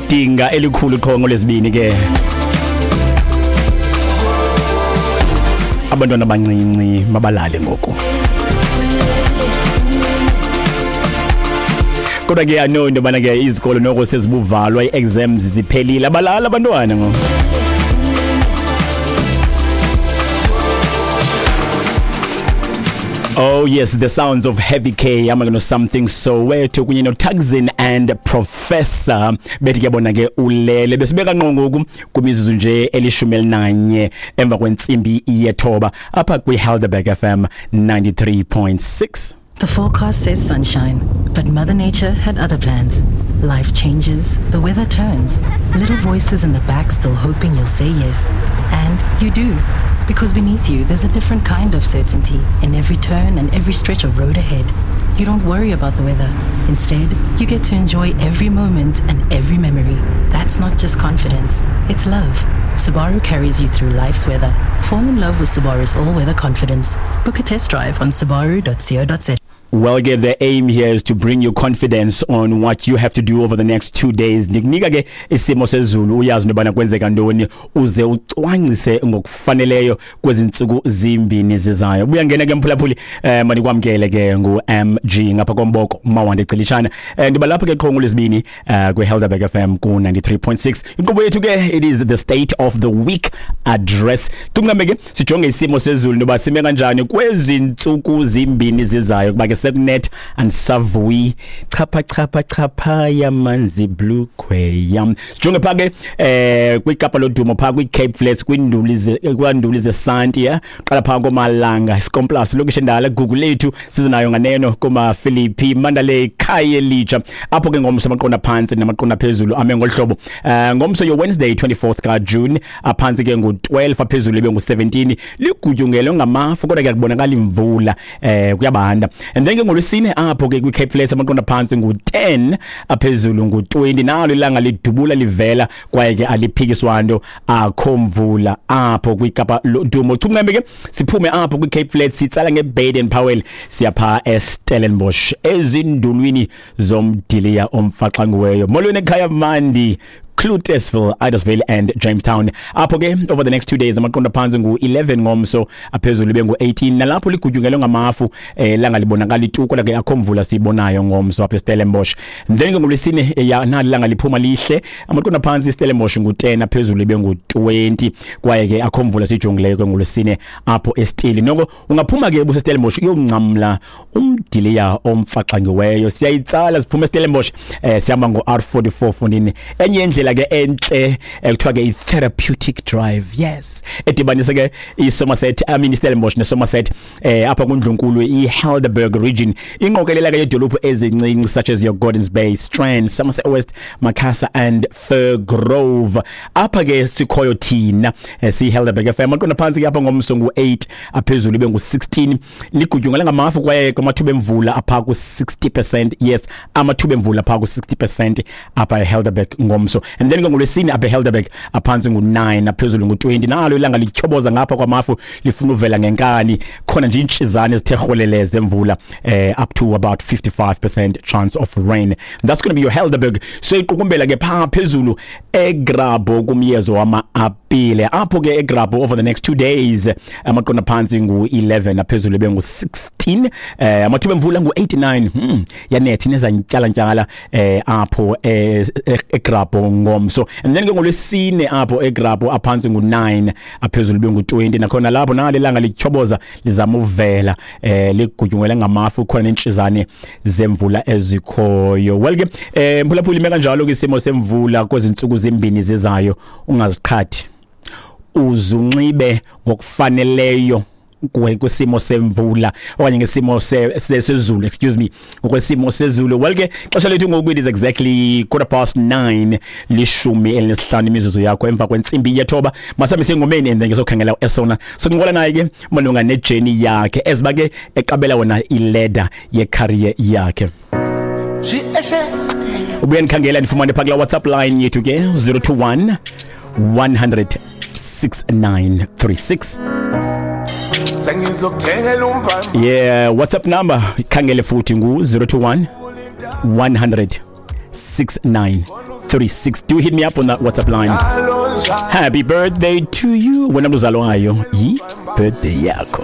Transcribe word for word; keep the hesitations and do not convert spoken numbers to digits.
Idinga elikhulu qho ngolwesibini ke. Abantwana abancinci mabalale ngoku. Kodwa ke ano into bana ke izikolo noko sezibuvalwa, i-exams ziphelile, abalala abantwana ngoku. Oh yes, the sounds of Heavy K, I'm gonna something Soweto kunye no Tugzin and Professor. Bethi ke bona ke ulele besibeka ngqo ngoku kumizuzu nje elishumi elinanye emva kwentsimbi yethoba apha kwi Helderberg F M ninety-three point six. The forecast says sunshine, but Mother Nature had other plans. Life changes, the weather turns, little voices in the back still hoping you'll say yes. And you do. Because beneath you, there's a different kind of certainty in every turn and every stretch of road ahead. You don't worry about the weather. Instead, you get to enjoy every moment and every memory. That's not just confidence, it's love. Subaru carries you through life's weather. Fall in love with Subaru's all-weather confidence. Book a test drive on subaru dot co dot za. Well, ke the aim here is to bring you confidence on what you have to do over the next two days. Ndikunika ke isimo sezulu uyazi nobana kwenzeka ntoni uze ucwangcise ngokufaneleyo kwezi ntsuku zimbini zizayo. Buya ngena ke mphulaphuli, eh manikwamkele ke ngu M G ngapha komboko Mawande Cilishana. Eh ndiba lapha ke qho ngolwesibini eh kwi Helderberg F M ku ninety-three point six. Inkqubo yethu ke it is the state of the week address. Tuncame ke sijonge isimo sezulu noba sime kanjani kwezi ntsuku zimbini zizayo kuba ke Net and Savui chapha chapha chapha yamanzi blue kweyam. Sijonge pha ke eh kwiKapa lodumo pha kwi Cape Flats kwinduli ze kwanduli zesanti ya qala pha komalanga Skomplaas lokishi endala Google lethu sizinayo nganeno koma Philippi Mandalay Khayelitsha apho ke ngomso amaqonda phansi namaqonda phezulu ame ngolhlobo. Eh ngomso yo Wednesday twenty-fourth ka June aphansi ke ngu twelve aphezulu ibe ngu seventeen ligutyungelwe ngamafu kodwa ke kubonakala imvula eh kuyabanda. And then ke ngolwesine apho ke kwi Cape Flats amaqonda phansi ngu ten aphezulu ngu twenty nalo ilanga lidubula livela kwaye ke aliphikiswa nto akho mvula apho kwiKapa lodumo. Chuncembe ke siphume apho kwi Cape Flats sitsala nge Baden Powell siyapha eStellenbosch ezindulwini zomdiliya omfaxanguweyo. Molweni ekhaya mandi Cloetesville, Idesville and Jamestown. Apho ke over the next two days amaqonda phansi ngu eleven ngomso aphezulu ibe ngu eighteen nalapho ligutyungelwe ngamafu eh langa libonakala ituko ke akho mvula sibonayo ngomso apha eStellenbosch. Then ke ngolwesine nali langa liphuma lihle amaqonda phansi eStellenbosch ngu ten aphezulu ibe ngu twenty kwaye ke akho mvula sijongileyo ke ngolwesine apho eStili. Noko ungaphuma ke buseStellenbosch uyoncamla umdiliya omfaxangiweyo. Siyayitsala siphuma eStellenbosch eh sihamba ngo R forty-four fonini enye indlela ke enhle ekuthiwa ke i-therapeutic drive, yes, edibanisa ke i-Somerset, I mean iStellenbosch neSomerset eh apha kundlunkulu i-Helderberg region. Inqokelela ke yedolophu ezincinci such as your Gordons Bay, Strand, Somerset West, Macassar and Firgrove. Apha ke sikhoyo thina si Helderberg F M aqonda phansi ke apha ngomso ngu eight aphezulu ibe ngu sixteen ligutyungela ngamafu kwaye kwamathuba emvula apha ku sixty percent, yes, amathuba emvula apha ku sixty percent apha eHelderberg ngomso. And then ngolwesine apha eHelderberg aphansi ngu nine aphezulu ngu twenty nalo ilanga lityhoboza ngapha kwamafu lifuna uvela ngenkani khona nje intshizane ezithe rholele zemvula eh up to about fifty-five percent chance of rain. That's going to be your Helderberg. So iqukumbela ke pha phezulu eGrabo kumyezo wama-apile apho ke eGrabo over the next two days amaqonda phansi ngu eleven aphezulu ibe ngu sixteen eh amathuba emvula ngu eighty-nine hmm yanethi nezantyala ntyala eh apho eGrabo ngomso. And then ke ngolwesine apho eGrabo aphansi ngu nine aphezulu ibe ngu twenty nakhona lapho nale langa lityhoboza lizama uvela eh ligutyungele ngamafu khona nentshizane zemvula ezikhoyo. Well ke eh mphulaphuli ime kanjalo ke isimo semvula kwezinsuku zimbini zizayo ungaziqhathi uzunxibe ngokufaneleyo kwesimo semvula okanye ngesimo sezulu, excuse me, ngokwesimo sezulu. Well ke xesha lethu ngoku it is exactly quarter past nine lishumi elinesihlanu imizuzu yakho emva kwentsimbi yethoba. Masambe sengomeni and then ngizokhangela esona soncokola naye ke malunga nejourney yakhe eziba ke eqabela wona iladder yecareer yakhe. Ubuye ndikhangela ndifumane pha kula WhatsApp line yethu ke zero two one one hundred six nine three six. Yeah, WhatsApp number ikhangele futhi ngu zero two one one hundred six nine three three six. Do hit me up on that WhatsApp line. Happy birthday to you. Wena mntu uzalwayo, yi birthday yakho.